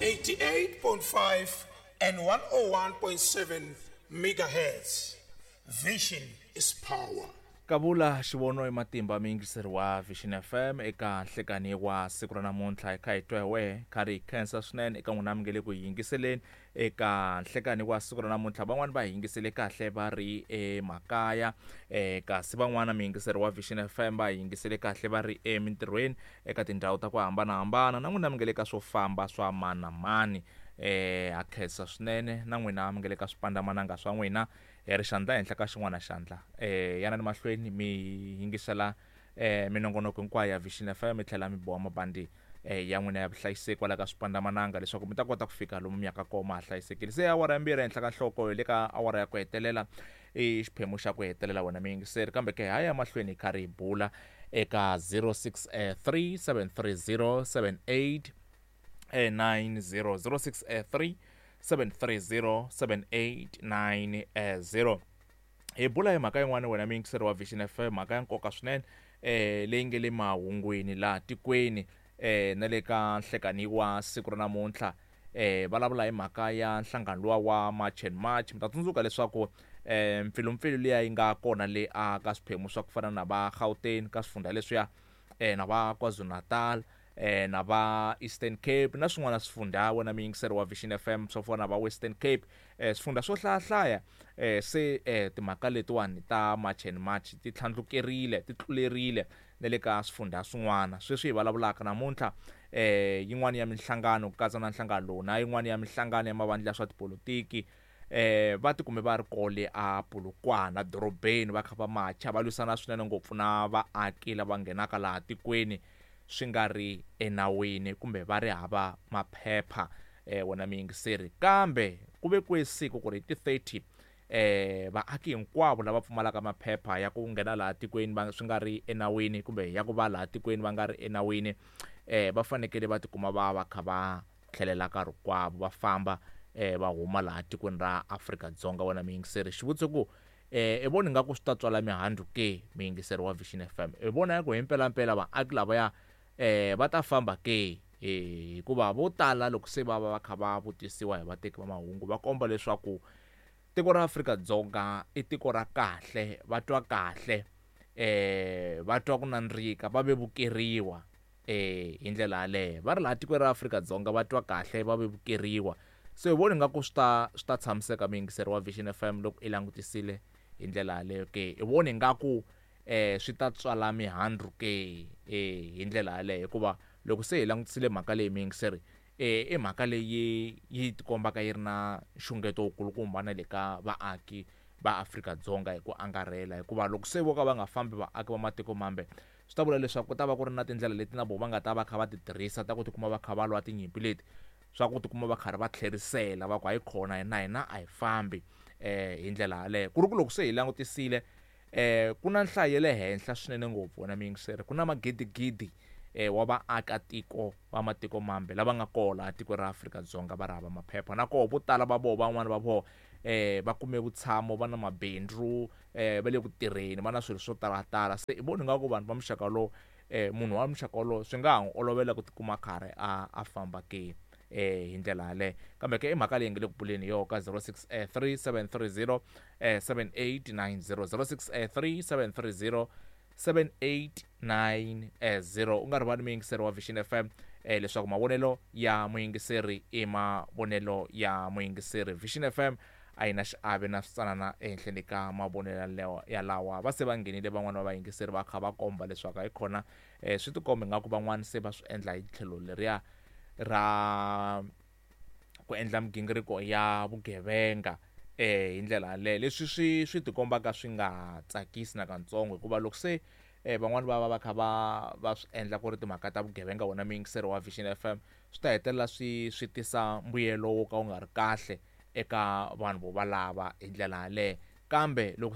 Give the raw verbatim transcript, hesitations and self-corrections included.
eighty-eight point five and one oh one point seven megahertz. Vision is power. Kavula xivono i matimba muyingiseri wa Vision F M eka nhlekani wa siku ra namuntlha hi kha hi twa hi wehe kha ri hi khensa swinene eka n'wina mi nge le ku hi yingiseleni eka nhlekani wa siku ra namuntlha. Van'wani va hi yingisele kahle va ri emakaya, eh, kasi van'wana muyingiseri wa Vision F M va hi yingisele kahle va ri emintirhweni eka tindhawu ta ku hambanahambana, na n'wina mi nge le ka swo famba swa mani na mani. Eh, ha khensa swinene na n'wina mi nge le ka swipandamananga swa n'wina, hi ri xandla henhla ka xin'wana xandla. Eh, yanani mahlweni mi yingisela, eh, minongonoko hinkwayo ya Vision F M, mi tlhela mi boha mabandi, eh, ya n'wina ya vuhlayiseki kwala ka swipandamananga leswaku mi ta kota ku fika lomu mi yaka kona ma ha hlayisekile. Se awara ya mbirhi ehenhla ka nhloko hi le ka awara ya ku hetelela, i xiphemu xa ku hetelela wena muyingiseri, kambe ke ha ya mahlweni hi karhi hi bula eka zero six, eh, three seven three zero seven eight, eh, nine zero, zero six, eh, three seven three zero seven eight nine, eh, zero. Hi bula hi mhaka yin'wana wena muyingiseri wa Vision F M, mhaka ya nkoka swinene, eh, leyi nge le mahungwini laha tikweni, eh, na le ka nhlekani wa siku ra namuntlha. Eh, vulavula hi mhaka ya nhlangano luwa wa March and March. Mi ta tsundzuka leswaku, eh, mpfilumpfilu liya yi nga kona le a ka swiphemu swa ku fana na va Gauteng, ka swifundza leswiya, eh, na va KwaZulu-Natal, eh, na va Eastern Cape na swin'wana swifundza wena muyingiseri wa Vision F M swo fana na va Western Cape, eh, swifundza swo hlayahlaya, eh, se, eh, timhaka letiwani ta March and March ti tlhandlukerile, ti tlulerile na le ka swifundza swin'wana. Sweswi hi vulavulaka namuntlha, eh, yin'wana ya minhlangano ku katsa na nhlangano lowu na yin'wana ya minhlangano ya mavandla ya swa tipolotiki, eh, va tikume va ri kole a Polokwane dorobeni va kha va macha, va lwisana swinene ngopfu na vaaki lava nghenaka laha tikweni swi nga ri enawini kumbe va ri hava maphepha, eh, wena muyingiseri. Kambe ku vekiwe siku ku ri hi ti thirty, eh, vaaki hinkwavo lava pfumalaka maphepha ya ku nghena laha tikweni va swi nga ri enawini kumbe ya ku va laha tikweni va nga ri enawini, eh, va fanekele va tikuma va va kha va tlhelela ka rikwavo, va famba, eh, va huma laha tikweni ra Afrika-Dzonga. Wena muyingiseri, xivutiso ku, eh, i vona ingaku swi ta tswala mihandzu ke, muyingiseri wa Vision F M? I vona ya ku hi mpelampela vaaki lavaya, eh, va ta famba ke? Eh, hikuva vo tala loko se va va va kha va vutisiwa hi vateki va mahungu va komba leswaku tiko ra Afrika-Dzonga i tiko ra kahle, va twa kahle, eh, va twa ku nandzika, va vevukeriwa, eh, hi ndlela yaleyo. Va ri laha tikweni ra Afrika-Dzonga va twa kahle, va vevukeriwa. Se hi vona ingaku swi ta, swi ta tshamiseka muyingiseri wa Vision F M loko i langutisile hi ndlela yaleyo ke? I vona ingaku, eh, swi ta tswala mihandzu ke, eh, hi ndlela yaleyo? Hikuva loko se hi langutisile mhaka leyi muyingiseri, eh, i mhaka leyi yi tikombaka yi ri na nxungeto wukulukumba na le ka vaaki va Afrika-Dzonga hi ku angarhela. Hikuva loko se vo ka va nga fambi vaaki va matiko mambe, swi ta vula leswaku ku ta va ku ri na tindlela leti na vona va nga ta va kha va ti tirhisa ta ku tikuma va kha va lwa tinyimpi leti, swa ku tikuma va karhi va tlherisela va ku hayi khona hina, hina a hi fambi, eh, hi ndlela yaleyo. Ku ri ku loko se hi langutisile, eh, ku na nhlayo ya le henhla swinene ngopfu wena muyingiseri, ku na magidigidi, eh, wa vaakatiko va matiko mambe lava nga kona laha tikweni ra Afrika-Dzonga va ri hava maphepha, na koho vo tala va vona, van'wani va vona, eh, va kume vutshamo, va na mabindzu, eh, va le ku tirheni, va na swilo swo talatala. Se i vona ingaku vanhu va muxaka lowu, eh, munhu wa muxaka wolowo swi nga ha n'wi olovela ku tikuma karhi a, a famba ke, eh, hi ndlela yaleyo. Kambe ke i mhaka leyi nge le ku buleni hi yona ka zero six, eh, three seven three zero, eh, seven eight nine zero, zero six, eh, three seven three zero, seven eight nine, eh, zero. U nga rivali muyingiseri wa Vision F M, eh, leswaku mavonelo ya muyingiseri i mavonelo ya muyingiseri. Vision F M a yi na xiave na switsanana ehenhleni ka mavonelo ya lawa. Va se va nghenile van'wana va vayingiseri va kha va komba leswaku hayi khona, eh, swi tikomba ingaku van'wana se va swi endla hi tlhelo leriya ra ku endla migingiriko ya vugevenga, eh, hi ndlela yaleyo. Leswi swi, swi tikombaka swi nga tsakisi nakantsongo, hikuva loko se, eh, van'wani va va va kha va, va swi endla ku ri timhaka ta vugevenga, wona muyingiseri wa Vision F M, swi ta hetelela swi, swi tisa mbuyelo wo ka wu nga ri kahle eka vanhu vo valava hi ndlela yaleyo. Kambe loko